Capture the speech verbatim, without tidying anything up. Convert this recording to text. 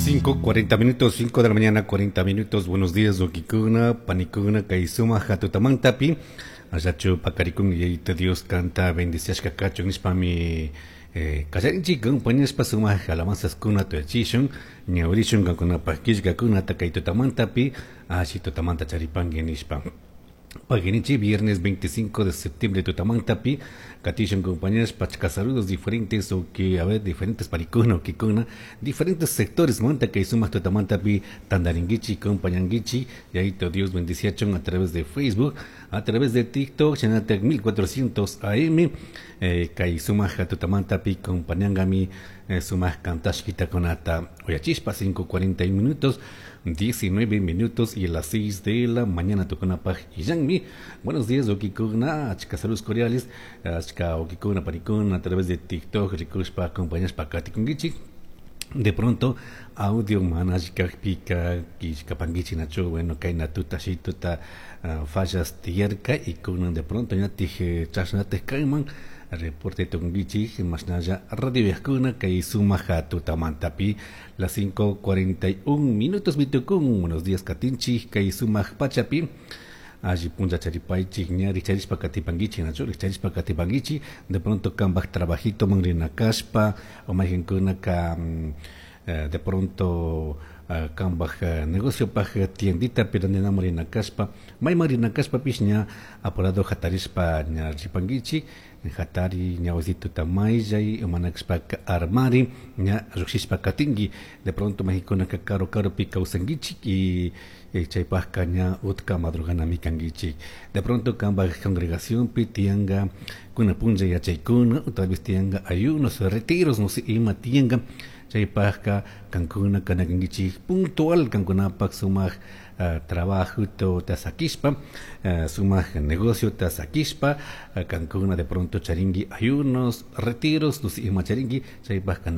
Cinco cuarenta minutos, cinco de la mañana, cuarenta minutos. Buenos días, huauquicuna, panicuna, kay sumak tutamantapi. Allachu pakarikun Yayito Dios canta bendiciashka kachun nishpami eh, kallarinchik compañashpa sumak alabanzaskuna tuyachishun ñawirishun kankunapaj killkakunata kay tutamantapi alli tutamanta charipanki nishpa. Paginichi, viernes veinticinco de septiembre, tutamantapi, katishun compañeros, pachka saludos diferentes, o que, a ver, diferentes panicuna, o kikuna, diferentes sectores, manta que sumak tutamantapi, tandaringuichi, compañanguichi, y ahí te Dios bendiciachon a través de Facebook, a través de TikTok, Chanatec mil cuatrocientos A M, eh, kay sumak tutamantapi, compañangami, eh, sumak kantashkita kunata, uyachispa, cinco cuarenta minutos, diecinueve minutos y a las seis de la mañana tukunapaj illanmi. Buenos días, huauquicuna, achka saludos cordiales, achka huauquicuna, panicuna, a través de TikTok, rikushpa, acompañashpa katikunguichi. De pronto, audio mana pika kishkapanguichi nachu, bueno, kayna tuta shituta uh, fallas tiyarka y kunan de pronto ñatik chashnatij kayman reporte tukunguichi mashnalla radio yajkuna kay sumak tutamantapi las cinco cuarenta y un minutos mitukun. Buenos días, katinchik kay sumak pachapi, alli punlla charipaychik, ña richarishpa katipanguichi nachu, richarishpa katipanguichi. De pronto kambaj trabajito man rina kashpa o mayqinkunaka mm, eh, de pronto uh, kambaj uh, negocio paj tiendita pero rina rina kashpa, mayman rina kashpapish ña apurado hatarishpa ña ripanguichi. Hatari, ña wasituta mayllay, mana kashpaka armari, ña llukshishpa katinki. De pronto mayqinkunaka karu karupi kawsankichik y chaypajka ña utka madruganami kankichik. De pronto kambaj congregacionpi tiyanka kuna punlla yachaykuna o tal vez tiyanka ayunos, retiros, no sé, ima tiyanka, chaypajka kankuna kanakankichik puntual kankunapak sumak uh, trabajo ta sakishpa, uh, sumak negocio ta sakishpa, uh, kankuna de pronto charinki ayunos, retiros, no sé, ima charinki, chaypajka.